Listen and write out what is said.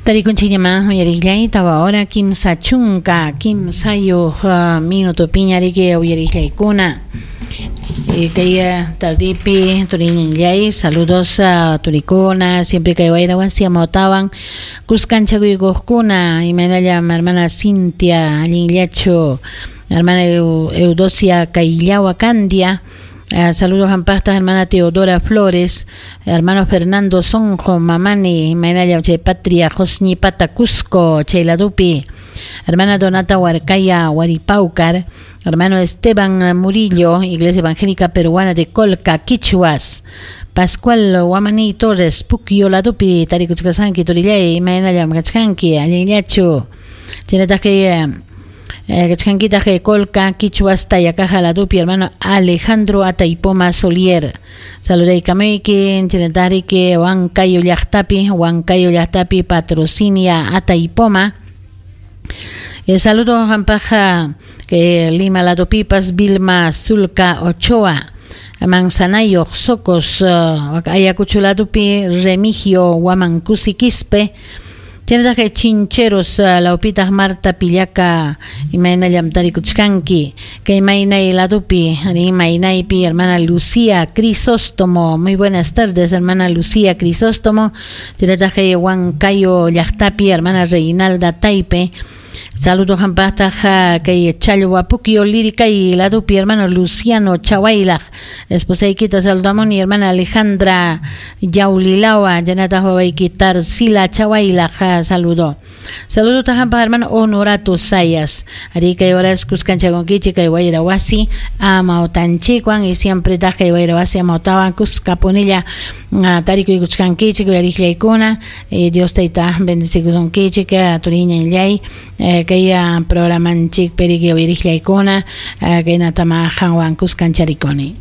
Tarikunchikñamá uyariqllay tawa hora 33 minutopiña riki uyariqllaykuna. Kay tardipi turiñinllay saludos a turikuna siempre kay wayra wasi amawtawan kuskanchakuykuqkuna imaynallam hermana Cintia allinllachu hermana Eudocia Kayllawa Candia. Saludos hampaqta hermana Teodora Flores, hermano Fernando Sonjo Mamani, imaynallam chay Patria Josñipata Cusco, chay ladupi, hermana Donata Huarcaya Huaripaucar, hermano Esteban Murillo, Iglesia Evangélica Peruana de Colca, Quichuas, Pascual Guamani Torres, Puquio ladupi, tarikuchkasanki turillay, imaynallam kachkanki, allinllachu, chaynataq kay kachkankitaq Colca, Quichuas, Tayacaja ladupi, hermano Alejandro Ataipoma Solier. Saludaykamayki, chaynataqriki Huancayo llaqtapi, Huancayo llaqtapi Patrocinia Ataipoma. Saludo hampaja que Lima ladupipas Vilma Zulca Ochoa, Manzanayo Socos, Ayacucho ladupi Remigio Huamancusi Quispe. Chaynataq Chincheros lawpitaq Marta Pillaca imaynallam tarikuchkanki kay maynay ladupi maynaypi hermana Lucía Crisóstomo. Muy buenas tardes, hermana Lucía Crisóstomo. Chaynataq kay Huancayo llaqtapi hermana Reinalda Taipe. Saludos hampaqtaq kay Challwa Puquio Liricay ladupi hermano Luciano Chahuaylaj. Esposaykita saludamuni hermana Alejandra Yaulilawa, chaynataq wawayki Tarsila Chahuaylaj saludo. Saludos hampaq hermano Honorato Sayas. Ari kay horas kuskanchakunkichik kay wayra wasi amawtanchikwan y siempre taq kay wayra wasi amawtawan kuskapunilla tarikuykuchkankichik uyariqllaykuna. Dios tayta bendecikusunkichik turiñanllay kay programanchik periki uyariqllaykuna kaynatama qanwan kuskancharikuni.